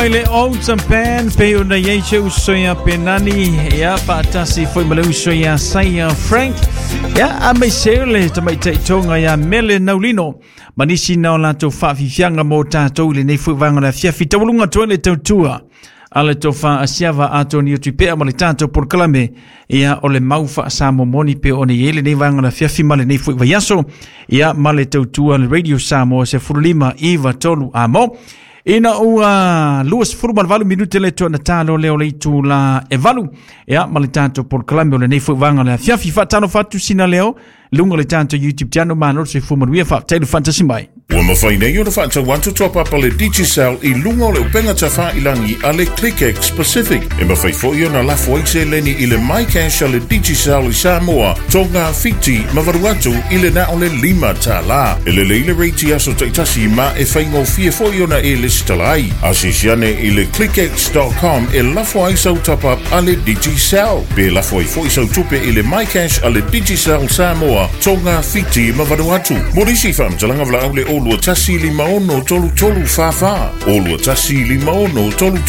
Mai le Old Band pei ona i ai se uso ia Penani, ia faatasi foi ma le uso ia Saia Frank, ia a mai se le tamaitai tonga ia Mele Naulino ma nisi na o latou faafiafiaga mo tatou i lenei foi vaega o le afiafi. Taualuga atu ai le tautua a le tofa a Siava Atoni o Tupea ma le tatou polokalame, ia o le mau faasamomoni pe ona i ai lenei vaega o le afiafi ma lenei foi vaiaso, ia ma le tautua a le Radio Samoa 15 9 3 amo. Ina ua 28 minute le tuana talo leo le itu la e valu. Ia, ma le tatou polokalame o lenei foi vaega o le afiafi. Faatalofa atu sina leo, luga o le tatou YouTube channel, malo le soifua manuia, faafetai le faatasi mai. Ua mafai nei ona faatau atu toapapa le Digicel i luga o le upega tafailagi a le ClickX Pacific. E mafai foi ona lafo ai seleni i le MyCash a le Digicel i Samoa, Tonga, Fiti ma Vanuatu i le na o le $5. E lelei le rate i aso taitasi ma e faigofie foi ona e lesitala ai. Asiasi ane i le clickx.com e lafo ai sau top-up a le Digicel. Pe lafo ai foi sau tupe i le MyCash a le Digicel Samoa, Tonga, Fiti ma Vanuatu. Mo nisi faamatalaga valaau le 021 56 33 44, 021 56